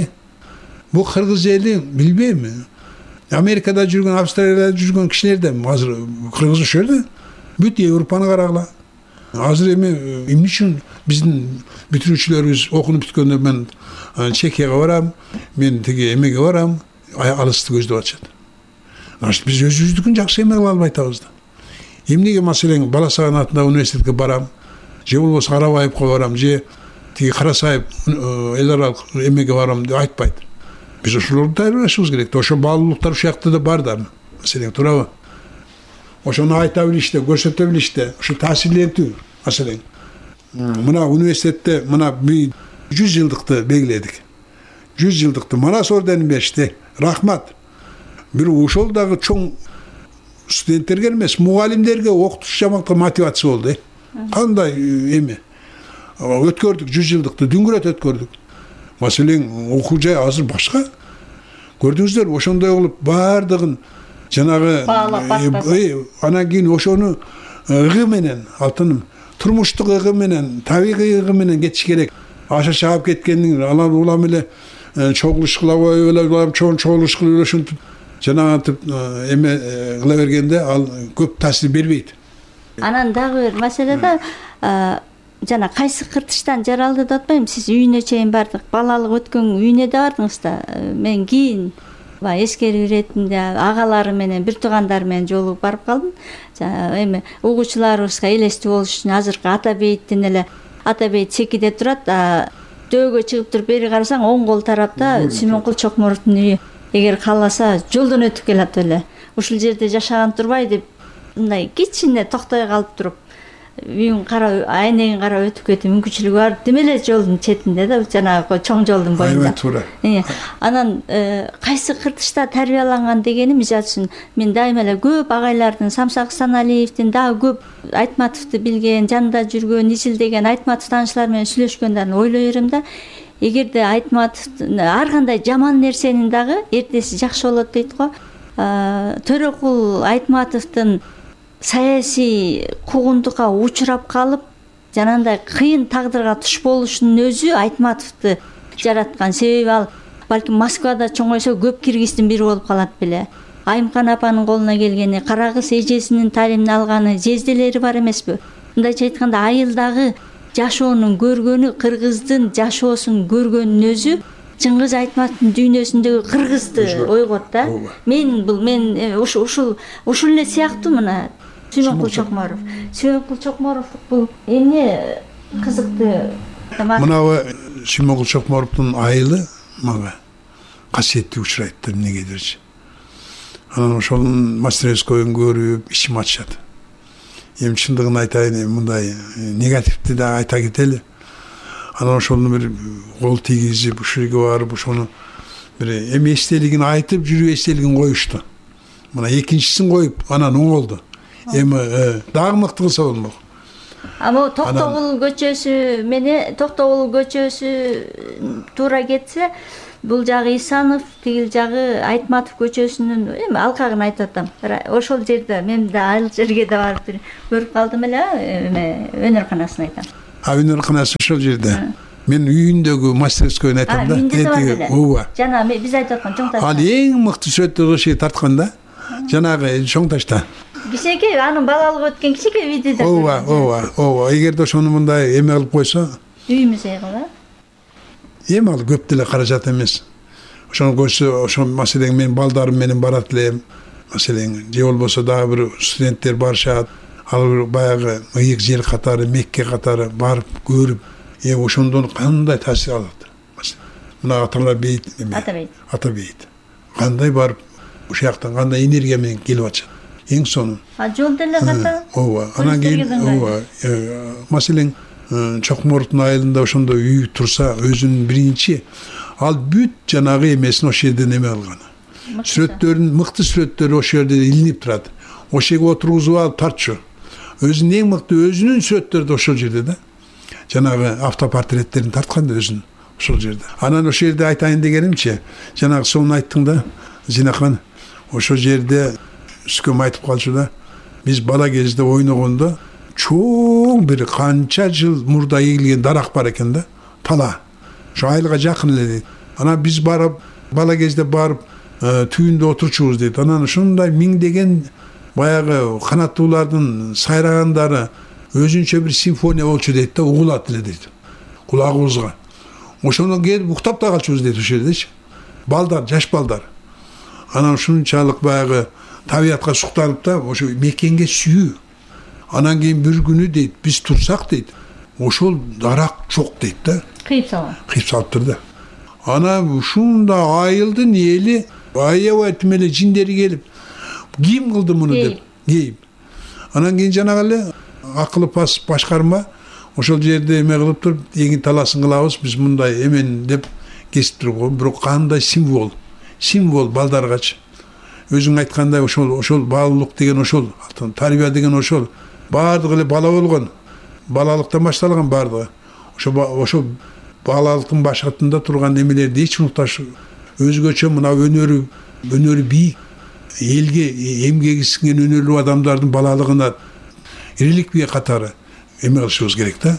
Бул кыргыз эли билбейм. Америкада жүргөн, Австралияда жүргөн кишилер да азыр кыргыз ошол жерде. Бүт Европаны карагыла. Азыр эмне үчүн биздин бүтүрүүчүлөрүбүз окунуп бүткөндө мен Чехияга барам, мен тиги эмеге барам, алысты көздөп атышат. Значит, биз өзүбүздүкүн жакшы эме кыла албай атабыз да. Эмнеге маселең Бала Саган атындагы университетке барам, же болбосо Арабаевге барам, же тиги Карасаев эл аралык эмеге барам деп айтпайт. Биз ошолорду даярдашыбыз керек. Ошо баалуулуктар ушул жакта да бар да. Маселең туурабы? Ошону айта билиште, көрсөтө билиште, ушу таасирлентүү маселең. Мына университетте мына 100 жылдыкты белгиледик. 100 жылдыкты Манас орденин беришти. Рахмат. Бир ошол дагы чоң студенттерге эмес, мугалимдерге окутуш жаманкы мотивация болду. Кандай эме? Өткөрдүк 100 жылдыкты, дүңгүрөт өткөрдүк. Маселең окуу жай азыр башка. Көрдүңүздөр, ошондой кылып баардыгын жанагы анан кийин ошону ыгы менен, алтыным, турмуштук ыгы менен, табигый ыгы менен кетиш керек. Аша чаап кеткендин алар улам эле чогулуш кылабай эле чогулуш кылып ушинтип жанагынтип эме кыла бергенде ал көп таасир бербейт. Анан дагы бир маселе да жана кайсы кыртыштан жаралды деп атпайм, сиз үйүнө чейин бардык, балалык өткөн үйүнө да бардыңыз да. Мен кийин эскерүү иретинде агалары менен, бир туугандар менен жолугуп барып калдым. Эми угуучуларыбызга элестүү болуш үчүн азыркы Ата Бейиттин эле Ата Бейит Чекиде турат, дөөгө чыгып туруп бери карасаң оң кол тарапта Сүймөнкул Чокморовдун үйү. Эгер кааласа жолдон өтүп келат эле. Ушул жерде жашаган турбай деп мындай кичине токтой калып туруп үйүн карап, айнегин карап өтүп кетүү мүмкүнчүлүгү бар. Демеле жолдун четинде да, жанагы чоң жолдун боюнда. Анан кайсы кыртышта тарбияланган дегени мисалы үчүн мен дайыма эле көп агайлардын, Самсак Саналиевдин дагы көп Айтматовду билген, жанында жүргөн, изилдеген Айтматов таанышлар менен сүйлөшкөндөрүн ойлой берем да. Эгерде Айтматов ар кандай жаман нерсенин дагы эртеси жакшы болот дейт го. Төрөкул Айтматовдун саясий куугунтукка учурап калып, жанагындай кыйын тагдырга туш болушунун өзү Айтматовду жараткан. Себеби ал балким Москвада чоңойсо көп киргиздин бири болуп калат беле. Айымкан апанын колуна келгени, Карагыз эжесинин талимин алганы, жезделери бар эмеспи? Мындайча айтканда айылдагы жашоонун көргөнү, кыргыздын жашоосун көргөнүн өзү Чыңгыз Айтматовдун дүйнөсүндөгү кыргызды ойгот да. Мен ушул эле сыяктуу мына Сүймөнкул Чокморов. Сүймөнкул Чокморов бул эмне кызыктуу. Мынабы Сүймөнкул Чокморовдун айылы мага касиеттүү учурайт эмнегедирчи. Анан ошонун мастерскойун көрүп ичим ачышат. Эми чындыгын айтайын, мындай негативди да айта кетели. Анан ошону бир кол тийгизип, ушул жерге барып, ошону бир эми эстелигин айтып, жүрүү эстелигин коюшту. Мына экинчисин коюп, анан оңолду. Эми дагы мыкты кылса болмок. Ама Токтогул көчөсү менен Токтогул көчөсү туура кетсе, бул жагы Исанов, тигил жагы Айтматов көчөсүнүн эми алкагын айтып атам. Ошол жерде мен да ал жерге да барып көрүп калдым эле, өнөрканасын айтам. Өнөрканасы ошол жерде. Мен үйүндөгү мастерскойн айтам да. Ооба. Жана биз айтып аткан чоң таш. Ал эң мыкты сүрөттөрдү ошо тарткан да. Жанагы чоң ташта. Кичинекей анын балалыгы өткөн кичинекей видео. Ооба. Эгерде ошону мындай эме кылып койсо, үйүмүз кыла. Эми ал көп деле каражат эмес. Ошону көрсө, ошол маселең мен балдарым менен барат элем. Маселең же болбосо дагы бир студенттер барышат. Ал баягы ыйык жер катары, Мекке катары барып көрүп, ошондон кандай таасир алат. Мына аталар бейт эме. Атабейт. Кандай барып ошол жактан кандай энергия менен келип атышат. Эң сонун. Жол деле ката. Ооба. Анан кийин маселең Чокмордун айылында ошондой үй турса, өзүнүн биринчи ал бүт жанагы эмесин ошол жерден эме алган. Сүрөттөрүн, мыкты сүрөттөрү ошол жерде илинип турат. Ошол жерге отургузуп алып тартчу. Өзүнүн эң мыкты өзүнүн сүрөттөрү да ошол жерде да. Жанагы автопортреттерин тарткан да өзүнүн ошол жерде. Анан ошол жерде айтайын дегенимчи, жанагы сонун айттың да, Зинахан. Ошол жерде үскөм айтып калчу да. Биз бала кезде ойногондо чоң бир канча жыл мурда эгилген дарак бар экен да. Тала. Ошо айылга жакын эле дейт. Анан биз барып, бала кезде барып, түбүндө отурчубуз дейт. Анан ушундай миңдеген баягы канаттуулардын сайрагандары өзүнчө бир симфония болчу дейт да, угулат эле дейт. Кулагыбызга. Ошондон келип уктап да калчубуз дейт ошол жердечи. Балдар, жаш балдар. Анан ушунчалык баягы табиятка суктанып да, ошо мекенге сүйүү. Анан кийин бир күнү дейт, биз турсак дейт, ошол дарак жок дейт да. Кыйып салган. Кыйып салыптыр да. Анан ушунда айылдын эли аябай тим эле жиндери келип, ким кылды муну деп, кейип. Анан кийин жанагы эле акылы пас башкарма ошол жерде эме кылып туруп, эң таласын кылабыз, биз мындай эмен деп кесип турган, бирок кандай символ балдаргачы. Өзүң айткандай ошол баалуулук деген ошол, тарбия деген ошол. Баардыгы эле бала болгон. Балалыктан башталган баардыгы. Ошо балалыктын башатында турган эмелерди эч унутпаш. Өзгөчө мына өнөрү бийик, элге эмгеги сиңген өнөрлүү адамдардын балалыгына реликвия катары эме кылышыбыз керек да.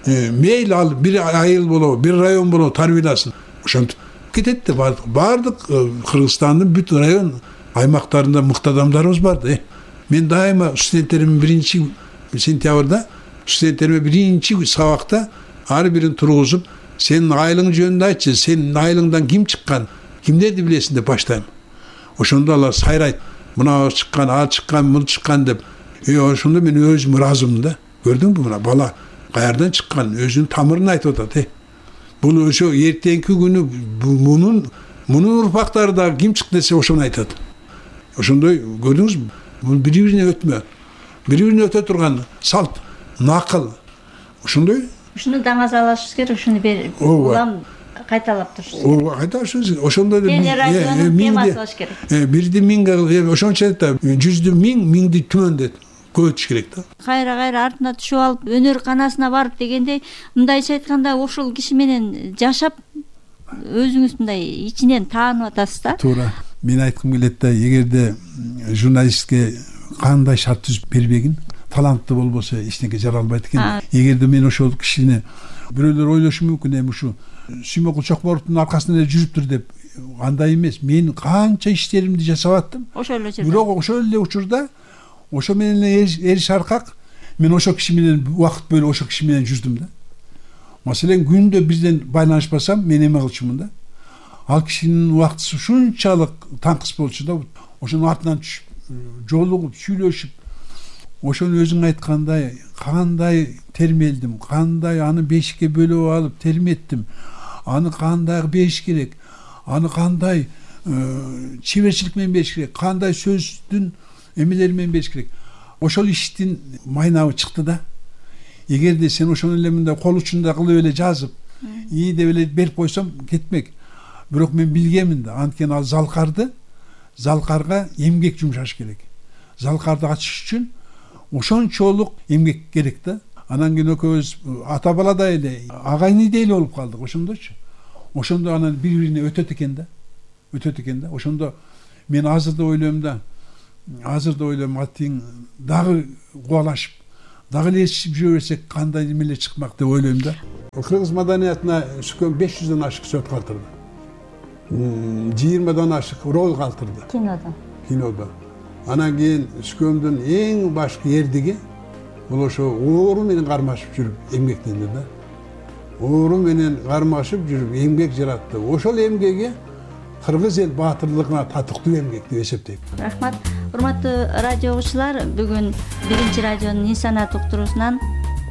Мейли ал бир айыл болобу, бир район болобу тарбияласын. Ошентип кетет да баардык Кыргызстандын бүт район аймактарында мыкты адамдарыбыз бар да. Мен дайыма студенттерим биринчи сентябрда студенттериме биринчи сабакта ар бирин тургузуп, сенин айылың жөнүндө айтчы, сенин айылыңдан ким чыккан, кимдерди билесиң деп баштайм. Ошондо алар сайрайт. Мына чыккан, ал чыккан, бул чыккан деп. Ошондо мен өзүм ыраазымын да. Көрдүңбү мына бала каярдан чыккан, өзүнүн тамырын айтып атат. Бул ошо эртеңки күнү мунун урпактары да ким чыкты десе ошону айтат. Ошондой көрдүңүзбү? Бул бири-бирине өтмө. Бири-бирине өтө турган салт, накыл. Ошондой. Ушуну даңазалашыбыз керек, ушуну улам кайталап турушубуз керек. Ооба, кайталашыбыз. Ошондо телерадионун темасы болуш керек. Бирди миң, ошончо да 100дү миңди түмөндөт. Көтүш керек да. Кайра артына түшүп алып өнөрканасына барып дегендей, мындайча айтканда ошол киши менен жашап өзүңүз мындай ичинен таанып атасыз да. Туура. Мен айткым келет да, эгерде журналистке кандай шарт түзүп бербегин, таланттуу болбосо эчтеке жара албайт экен. Эгерде мен ошол кишини бирөөлөр ойлошу мүмкүн, эми ушу Сүймөкул Чокморовдун аркасында эле жүрүптүр деп. Андай эмес. Мен канча иштеримди жасап аттым. Ошол эле жерде. Бирок ошол эле учурда ошо менен эриш аркак мен ошо киши менен убакыт бөлүп ошо киши менен жүрдүм да. Маселен күндө бизден байланышпасам мен эме кылчумун да. Ал кишинин убактысы ушунчалык таңкыс болчу да. Ошонун артынан түшүп, жолугуп, сүйлөшүп, ошону өзүң айткандай кандай термелдим, кандай аны бешикке бөлүп алып терметтим, аны кандай бериш керек, аны кандай чеберчилик менен бериш керек, кандай сөздүн эмелери менен бериш керек. Ошол иштин майнабы чыкты да. Эгерде сен ошону эле мындай кол учунда кылып эле жазып, ии деп эле берип койсом кетмек. Бирок мен билгемин да, анткени ал залкарга эмгек жумшаш керек. Залкарды ачыш үчүн ошончолук эмгек керек да. Анан кийин экөөбүз ата баладай эле агайныйдай эле болуп калдык ошондочу. Ошондо анан бири-бирине өтөт экен да. Ошондо мен азыр да ойлойм атиң дагы кубалашып, дагы эле ичип жүрө берсек кандай эмелер чыкмак деп ойлойм да. Кыргыз маданиятына түшкөн 500дөн ашык сөт калтырды. 20дан ашык роль калтырды. Кинодо. Анан кийин түшкөндүн эң башкы эрдиги бул ошо оору менен кармашып жүрүп эмгектенди да. Оору менен кармашып жүрүп эмгек жаратты. Ошол эмгеги кыргыз эл баатырлыгына татыктуу эмгек деп эсептейм. Рахмат. Урматтуу радио угуучулар, бүгүн биринчи радионун ин-санаат уктуруусунан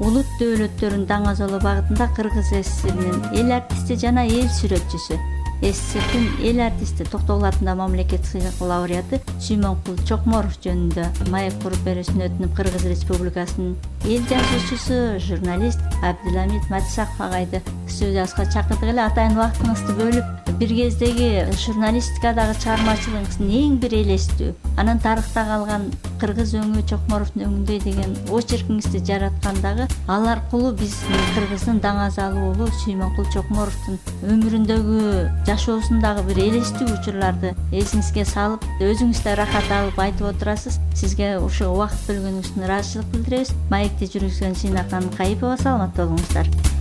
улут дөөлөттөрүн даңазалоо багытында Кыргыз СССРинин эл артисти жана эл сүрөтчүсү, СССРдин эл артисти, Токтогул атындагы мамлекеттик сыйлыктын лауреаты Сүймөнкул Чокморов жөнүндө маек куруп берүүсүн өтүнүп, Кыргыз Республикасынын эл жазуучусу, журналист Абдыламит Матисаков агайды студиябызга чакырдык эле. Атайын убактыңызды бөлүп, бир кездеги журналистикадагы чыгармачылыгыңыздын эң бир элестүү, анан тарыхта калган Кыргыз өңү Чокморовдун өңүндөй деген очеркиңизди жараткандагы ал аркылуу биз Кыргыздын даңазалуу уулу Сүймөнкул Чокморовдун өмүрүндөгү, жашоосундагы бир элестүү учурларды эсиңизге салып, өзүңүз да рахат алып айтып отурасыз. Сизге ушул убакыт бөлгөнүңүз үчүн ыраазычылык билдиребиз. Маекти жүргүзгөн Сыйнакан Кайыпова, саламатта болуңуздар.